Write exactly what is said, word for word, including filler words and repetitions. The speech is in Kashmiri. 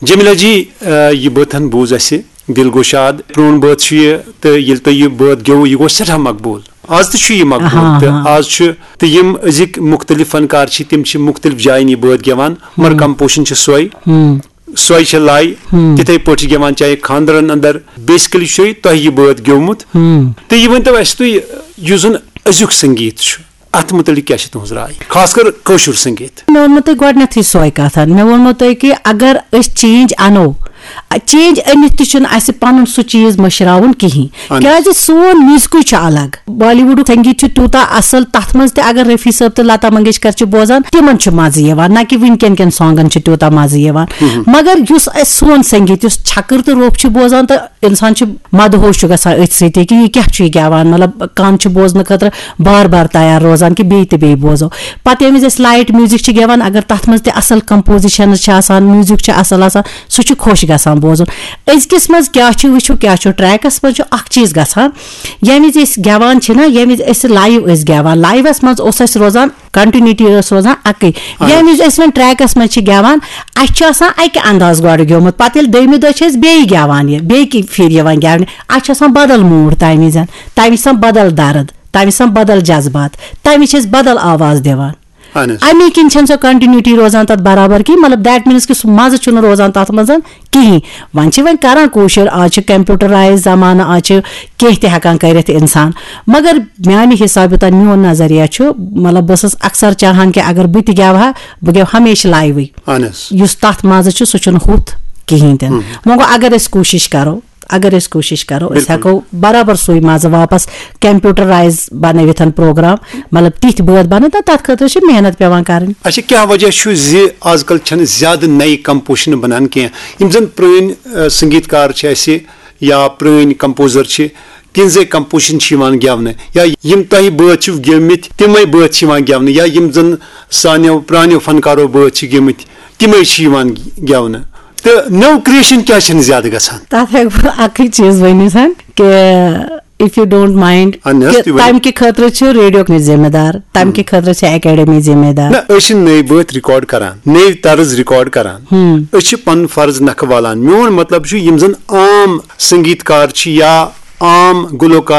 جمیلہ جی، آ، یہِ بٲتھ ہن بوٗز اَسہِ، دِل گوٚو شاد۔ پرٛون بٲتھ چھُ یہِ، تہٕ ییٚلہِ تۄہہِ یہِ بٲتھ گیوٚو، یہِ گوٚو سٮ۪ٹھاہ مقبوٗل۔ آز تہِ چھُ یہِ مقبوٗل، ہاں، تہٕ ہاں۔ آز چھُ، تہٕ یِم أزِکۍ مُختٔلِف فنکار چھِ، تِم چھِ مُختٔلِف جاین یہِ بٲتھ گٮ۪وان، مگر ہم۔ کمپوزیشن چھِ سۄے۔ ہم۔ سۄے چھےٚ لَے۔ ہم۔ تِتھَے پٲٹھۍ چھِ گٮ۪وان، چاہے خانٛدرن اندر، basically چھُ تۄہہِ یہِ بٲتھ گیومُت۔ ہم۔ تہٕ یہِ ؤنۍتو اَسہِ تُہۍ، یُس زن أزیُک سنگیت چھُ، اتھ متعلق کیٛاہ چھِ تُہنٛز راے، خاص کر کٲشُر سنگیت؟ مےٚ ووٚنمو تۄہہِ گۄڈٕنیتھٕے سۄے کتھ۔ مےٚ ووٚنمو تۄہہِ کہِ اگر أسۍ چینج انو، چینج أنِتھ تہِ چھُنہٕ اَسہِ پنُن سُہ چیٖز مٔشراوُن کِہیٖنۍ۔ اہن۔ کیازِ سون میوزکٕے چھُ الگ۔ بالی وُڈُک سنگیت چھُ تیوٗتاہ اصل، تتھ منٛز تہِ اگر رفیع صٲب تہٕ لتا منگیشکر چھِ بوزان، تِمن چھُ مزٕ یِوان، نہ کہِ وٕنکٮ۪ن کٮ۪ن سانگن چھُ تیوٗتاہ مزٕ یِوان۔ مگر یُس اَسہِ سون سنگیت، یُس چھکٕر تہٕ روٚف چھُ بوزان، تہٕ انسان چھُ مدہوش چھُ گژھان أتھۍ سۭتۍ کہِ یہِ کیٛاہ چھُ یہِ گٮ۪وان، مطلب، کان چھُ بوزنہٕ خٲطرٕ بار بار تیار روزان کہِ بیٚیہِ تہٕ بیٚیہِ بوزو۔ پتہٕ ییٚمہِ وِزِ أسۍ لایٹ میوزک چھِ گٮ۪وان، اگر تتھ منٛز تہِ اصل کمپوزیشنز چھِ آسان، میوزک چھُ اصل آسان، سُہ چھُ خۄش گژھان بوزُن۔ أزکِس منٛز کیٛاہ چھُ، وٕچھِو کیٛاہ چھُ، ٹریکس منٛز چھُ اکھ چیٖز گژھان، ییٚمہِ وِزِ أسۍ گٮ۪وان چھِ نا، ییٚمہِ وِزِ أسۍ لایو ٲسۍ گٮ۪وان، لایوس منٛز اوس اَسہِ روزان کنٹینیوٹی، ٲس روزان اکٕے۔ اہن۔ ییٚمہِ وِزِ أسۍ وۄنۍ ٹریکس منٛز چھِ گٮ۪وان، اَسہِ چھُ آسان اکہِ انداز گۄڈٕ گیومُت، پتہٕ ییٚلہِ دوٚیمہِ دۄہ چھِ أسۍ بیٚیہِ گٮ۪وان یہِ، بیٚیہِ کہِ پھِرِ یِوان گٮ۪ونہِ، اَسہِ چھُ آسان بدل موٗڈ تَمہِ وِزِ، تَمہِ وِزِ چھِ آسان بدل درد، تَمہِ وِزِ چھِ آسان بدل جذبات، تَمہِ وِزِ چھِ أسۍ بدل آواز دِوان۔ اہن حظ۔ اَمی کِنۍ چھَنہٕ سۄ کنٹینیوٹی روزان تَتھ برابر کِہیٖنۍ، مطلب، that means کہِ سُہ مَزٕ چھُنہٕ روزان تَتھ منٛز کِہیٖنۍ۔ وۄنۍ چھِ وۄنۍ کران کوٗشِر، آز چھِ کمپیوٹرایز زمانہٕ، آز چھِ کینٛہہ تہِ ہٮ۪کان کٔرِتھ اِنسان۔ مگر میانہِ حسابہٕ یوٗتاہ میون نظریہ چھُ، مطلب، بہٕ ٲسٕس اکثر چاہان کہِ اگر بہٕ تہِ گٮ۪وہا، بہٕ گٮ۪وٕ ہمیشہِ لایوٕے۔ اہن حظ۔ یُس تَتھ مَزٕ چھُ، سُہ چھُنہٕ ہُتھ کِہیٖنۍ تہِ نہٕ۔ ہم۔ وۄنۍ گوٚو، اگر أسۍ کوٗشِش کرو، اگر أسۍ کوٗشِش کرو، أسۍ بِلکُل۔ ہٮ۪کو برابر سُے مَزٕ واپس کمپیوٹرایز بنٲوِتھ پروگرام، مطلب، تِتھۍ بٲتھ بنٲوِتھ، تہٕ تَتھ خٲطرٕ چھِ محنت پٮ۪وان کرٕنۍ۔ اچھا، کیٛاہ وجہ چھُ زِ آز کل چھَنہٕ زیادٕ نَیہِ کمپوزیشنہٕ بنان کینٛہہ؟ یِم زن پرٛٲنۍ، آ، سنگیت کار چھِ اَسہِ یا پرٛٲنۍ کمپوزر چھِ، تِہنٛزے کمپوزیشن چھِ یِوان گٮ۪ونہٕ، یا یِم تۄہہِ بٲتھ چھِو گٮ۪ومٕتۍ، تِمے بٲتھ چھِ یِوان گٮ۪ونہٕ، یا یِم زن سانیو پرٛانیو فنکارو بٲتھ چھِ گٮ۪مٕتۍ، تِمے چھِ یِوان گٮ۪ونہٕ۔ تہٕ نٔو کریشن کیٛازِ چھَنہٕ زیادٕ گژھان؟ تَتھ ہٮ۪کہٕ بہٕ اَکٕے چیٖز ؤنِتھ کہِ if you don't mind، اہن حظ، کہِ تُہۍ ؤنِو۔ تَمہِ کہِ خٲطرٕ چھُ ریڈیو ذمہٕ دار، تَمہِ کہِ خٲطرٕ چھِ اکیڈمی ذمہٕ دار۔ نہ، أسۍ چھِ نٔوۍ بٲتھ ریکارڈ کران، نٔوۍ طرز ریکارڈ کران۔ ہم۔ أسۍ چھِ پنُن فرض نکھٕ والان۔ میون مطلب چھُ، یِم زن عام سنگیت کار چھِ یا عام گلوکار